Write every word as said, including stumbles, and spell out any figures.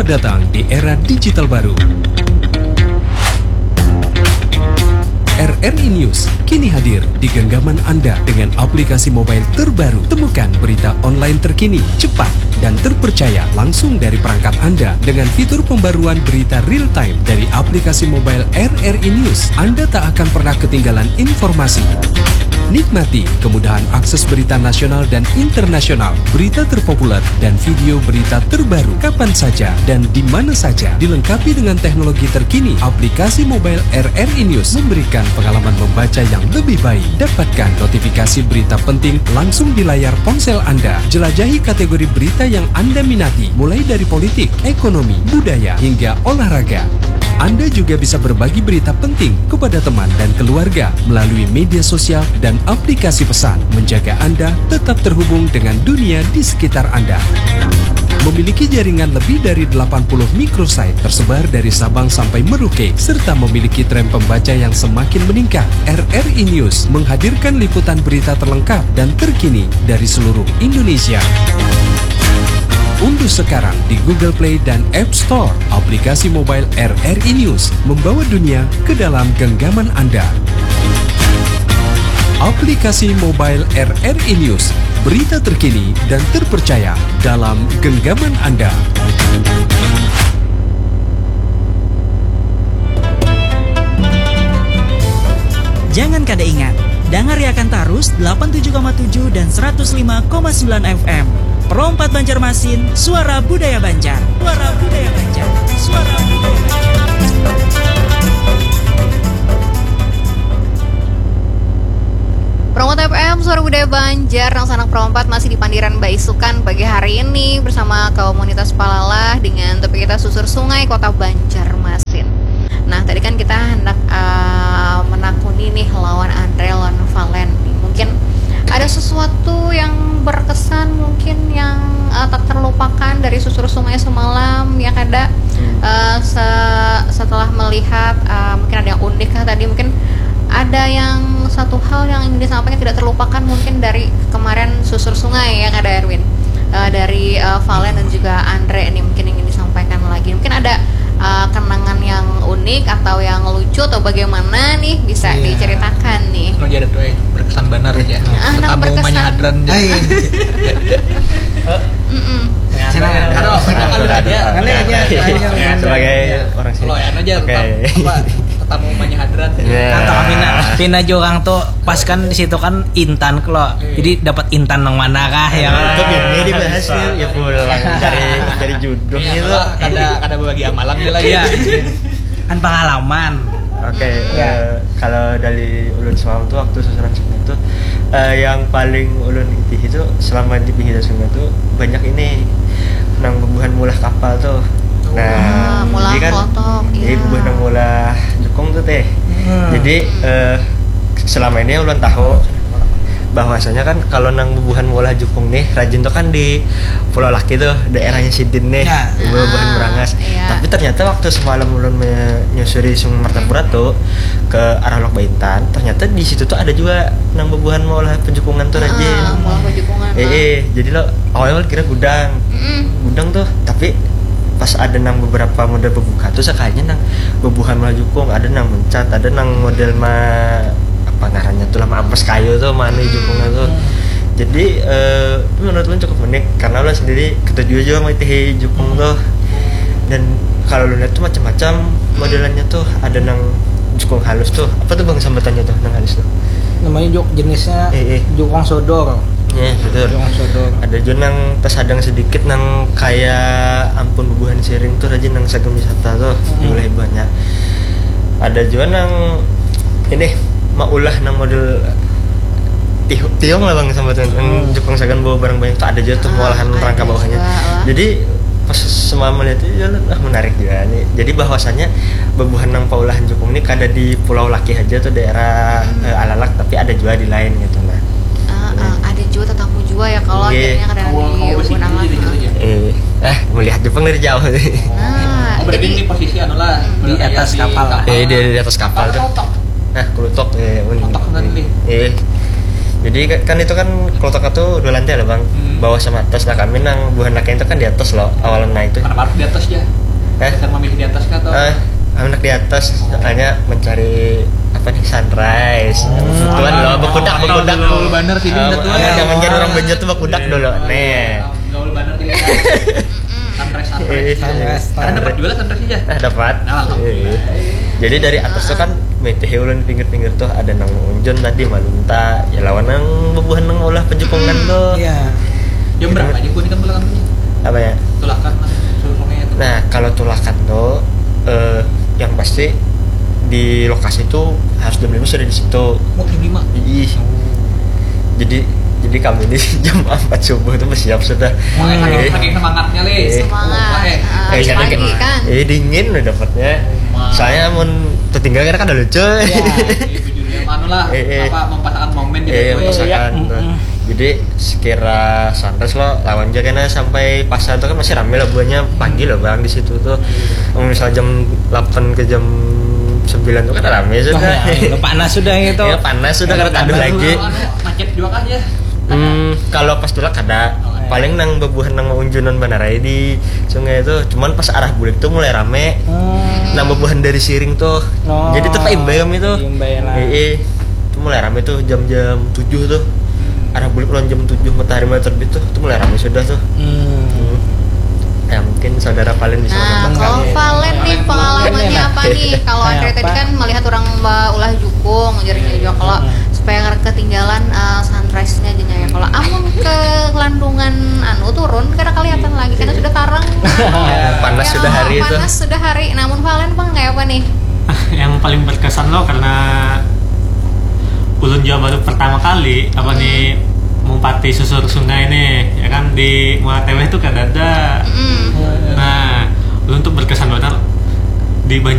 Datang di era digital baru. R R I News kini hadir di genggaman Anda dengan aplikasi mobile terbaru. Temukan berita online terkini, cepat, dan terpercaya langsung dari perangkat Anda dengan fitur pembaruan berita real time dari aplikasi mobile R R I News. Anda tak akan pernah ketinggalan informasi. Nikmati kemudahan akses berita nasional dan internasional, berita terpopuler, dan video berita terbaru kapan saja dan di mana saja. Dilengkapi dengan teknologi terkini, aplikasi mobile R R I News memberikan pengalaman membaca yang lebih baik. Dapatkan notifikasi berita penting langsung di layar ponsel Anda. Jelajahi kategori berita yang Anda minati, mulai dari politik, ekonomi, budaya, hingga olahraga. Anda juga bisa berbagi berita penting kepada teman dan keluarga melalui media sosial dan aplikasi pesan, menjaga Anda tetap terhubung dengan dunia di sekitar Anda. Memiliki jaringan lebih dari delapan puluh microsite tersebar dari Sabang sampai Merauke, serta memiliki tren pembaca yang semakin meningkat, R R I News menghadirkan liputan berita terlengkap dan terkini dari seluruh Indonesia. Unduh sekarang di Google Play dan App Store aplikasi mobile R R I News, membawa dunia ke dalam genggaman Anda. Aplikasi mobile R R I News, berita terkini dan terpercaya dalam genggaman Anda. Jangan kada ingat, dangariakan tarus delapan tujuh koma tujuh dan seratus lima koma sembilan F M. Pro empat Banjarmasin, suara budaya Banjar. Suara budaya Banjar. Suara budaya Banjar. Pro empat F M, suara budaya Banjar, nang sanak Pro empat masih di pandiran baisukan pagi hari ini bersama komunitas Palalah dengan topik kita Susur Sungai Kota Banjarmasin. Nah, tadi kan kita hendak, eh, menakuni nih lawan Andre, lawan Valen nih. Mungkin ada sesuatu yang berkesan, mungkin yang, eh, tak terlupakan dari susur sungai semalam, ya kada? Hmm. Eh, se-, setelah melihat, eh, mungkin ada yang unik lah tadi, mungkin ada yang satu hal yang ingin disampaikan tidak terlupakan mungkin dari kemarin susur sungai, ya kada, Erwin? Eh, dari, eh, Valen dan juga Andre nih, mungkin ingin disampaikan lagi. Mungkin ada, eh, kenangan yang unik atau yang lucu atau bagaimana nih, bisa Iya. diceritakan nih. Anu ja tuh, eh, berkesan banar aja. Ah, nang Tetamu berkesan. Manyahadran aja. Ai. Mm-mm. Silakan. Aduh, aduh, aduh, aduh. Aduh, aduh. Aduh, aduh. Sebagai Iya. orang sini. Kalau anu aja, Oke. tetap, apa, tetamu manyahadran. Iya. Kata pina, pina jua orang tuh pas kan di situ kan intan klo. Iya. Jadi dapat intan nang mana kah ya? Itu bini dibahas nih, ya pulang cari, cari jodoh Iya, gitu. Kalau kada, kada berbagi amalan nih lagi. Iya. Kan pengalaman. Oke, Ya. eh, kalau dari ulun semalam tuh waktu susuran sungai itu, eh, yang paling ulun itihi itu selama di pinggir sungai itu banyak ini nang bubuhan mulah kapal tuh. Nah, Ah, mulah jadi kan, klotok, jadi iya. bubuhan nang mulah jukung tuh teh. Hmm. Jadi, eh, selama ini ulun tahu bahwasanya kan kalau nang bubuhan mulah jukung nih rajin tuh kan di Pulau Laki tuh, daerahnya sidin nih, Ya. bubuhan Ah, Berangas. iya. Tapi ternyata waktu semalam ulun menyusuri Sungai Martapura tuh ke arah Lok Baintan, ternyata di situ tuh ada juga nang bubuhan maulah pejukungan tuh Ah, rajin. maulah pejukungan, Eh, ah. eh, jadi lo awalnya kira gudang. Mm-mm. Gudang tuh, tapi pas ada nang beberapa model bebuka tuh sekalinya nang bubuhan maulah jukung, ada nang mencat, ada nang model ma apa ngarannya tuh lah, ma ampes kayu tuh, mana Hmm. jukungnya tuh. Jadi, eh, menurut ulun cukup unik karena ulun sendiri ketujuh juga mengikuti jukung tuh. Dan kalau lu lihat tuh macam-macam Hmm. modelannya tuh, ada nang jukung halus tuh. Apa tuh, Bang, sambatannya tuh nang halus tuh? Namanya juk-, jenisnya Eh, eh. jukung sodor. Ya, betul. Jukung sodor. Ada juga nang tersadang sedikit nang kayak ampun bubuhan siring tuh, rajin nang sagan wisata tuh, Hmm. mulai banyak. Ada juga nang ini maulah nang model tihu-, tiung lah, Bang, sambatan. Nang Hmm. jukung sagan bawa barang banyak tuh ada juga tuh Ah, maulah ada rangka bawahnya. juga, wah. Jadi pas semalam melihat itu, ya, ah, menarik juga nih. Jadi bahwasannya bubuhan nang paulahan jukung ini kada di Pulau Laki aja tuh, daerah, Hmm. eh, Alalak, tapi ada juga di lain gitu, nah. Ah, Iya. ah, ada juga tetamu juga ya kalau Iya. akhirnya kada Kawa, di kawa besi Gunung ini Laki. Gitu ya? Eh, ah, melihat Jepang dari jauh. Nah, Oh, berarti jadi ini posisi anu lah, Hmm. Di berarti atas di kapal. kapal. Eh, di, di atas kapal Kapal tuh. kotok. Nah, kelutok, eh, un-, Kotok kan nih. eh. Jadi kan itu kan klotok itu dua lantai lah bang, hmm. Bawah sama atas. Nah kami nang buhan laki itu kan di atas loh, awalan nah itu. Kenapa harus di atas ya? Eh? Dasar memilih di atas kah atau? Eh, anak di atas, oh. Soalnya mencari apa nih, sunrise. Oh. Kebetulan loh, bekudak, bekudak. Gaul bener sih, uh, jangan-jangan orang Banjar tuh bekudak dulu. Nih. Gaul bener sih. Sunrise, sunrise. Sunrise. Karena dapat juga sunrise aja. Nah, dapat. Nah, alhamdulillah. Iya. Jadi dari atas tuh kan mitihi ulun pinggir-pinggir tuh ada nang unjun tadi malunta, ya lawan nang bubuhan nang ulah pejukungan tuh. Iya. Jam berapa aja kuning kan pulang tuh? Apa ya? Tulakan lah, suruh sungai itu. Nah, kalau tulakan tuh eh, yang pasti di lokasi itu harus jam lima sudah di situ. Oh, jam lima. Ih. Jadi jadi kami ini jam empat subuh tuh bersiap sudah. Oh, saking, saking semangatnya, Le. Semangat. Eh, eh, pagi kan. Eh, dingin udah dapatnya. Saya mau tertinggal karena kan ada lucu. Ya, anu lah, eh, eh. Apa, mempasakan momen gitu. Eh, ya, mempasakan. Jadi sekira sunrise lo lawan aja kena sampai pasar tuh kan masih rame lah buahnya pagi loh bang di situ tuh. Misal jam delapan ke jam sembilan tuh kan rame sudah. Wah, ya, panas sudah gitu. Ya panas sudah karena taduh lagi. Anu, macet juga kan ya. Hmm, kalau pas tulak ada. Oh, iya. Paling nang bebuhan nang unjunan banar aja di sungai itu. Cuman pas arah bulik tuh mulai rame. Hmm. Nang bebuhan dari Siring tuh. Oh. Jadi tuh paimbai kami tuh. Paimbai lah. Iya. Itu mulai rame tuh jam-jam tujuh tuh. Arah bulik lawan jam tujuh matahari mulai terbit tuh. Itu mulai rame sudah tuh. Hmm. Ya mungkin saudara Valen bisa. Nah, kalau Valen nih pengalamannya apa nih kalau Andre tadi kan melihat orang ulah jukung jadi juga kalau supaya ketinggalan uh, sunrise-nya aja ya kalau amun ke Landungan anu turun karena kelihatan lagi karena sudah tarang. Panas sudah hari itu. Panas sudah hari. Namun Valen bang kayak apa nih? Yang paling berkesan loh karena ulun juga baru pertama kali apa nih mumpati susur sungai nih ya kan di Muara Teweh tuh kada ada. Mm. Nah, ulun tuh berkesan banget di Banjar